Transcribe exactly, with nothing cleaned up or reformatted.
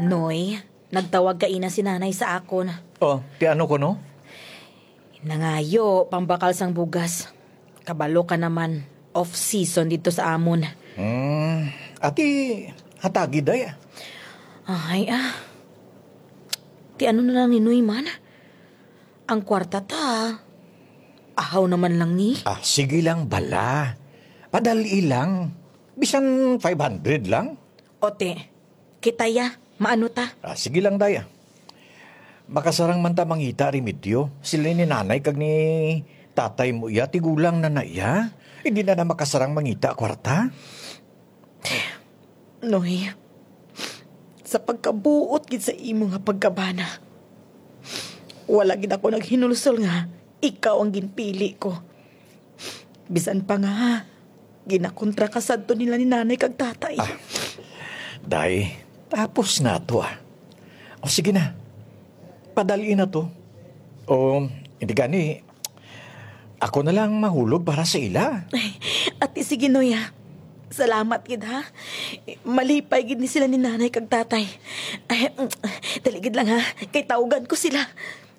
Noy, nagtawag kaina si Nanay sa akon. Oh, ti ano kuno? Nangayo pambakal sang bugas. Kabalo ka naman, off-season didto sa amon. Hmm, ati, hatagi, day, ah. Ay, ah. Ti ano na lang ni Noy man? Ang kwarta ta, ahaw naman lang ni. Ah, sige lang bala. Padali lang. Bisan five hundred lang. Ote, kita ya, maano ta? Ah, sige lang, day, ah. Makasarang man ta mangita remedyo. Sila ni nanay kag ni tatay mo iya, tigulang na na iya. Hindi na na makasarang mangita kwarta. Noy, sa pagkabuot gid sa imo nga pagkabana, wala gid ako naghinulsol nga ikaw ang ginpili ko. Bisan pa nga, ginakontra ka sadto nila ni nanay kag tatay. Ah, day, tapos na to, ah. O sige na, padali na to. O, hindi gani, ako na lang mahulog para sa ila. Ay, ati, sige, Noy, ah. Salamat gid, ha. Malipay gid ni sila ni nanay kag tatay. Ay, mm, dali gid lang, ha, kay tawgan ko sila.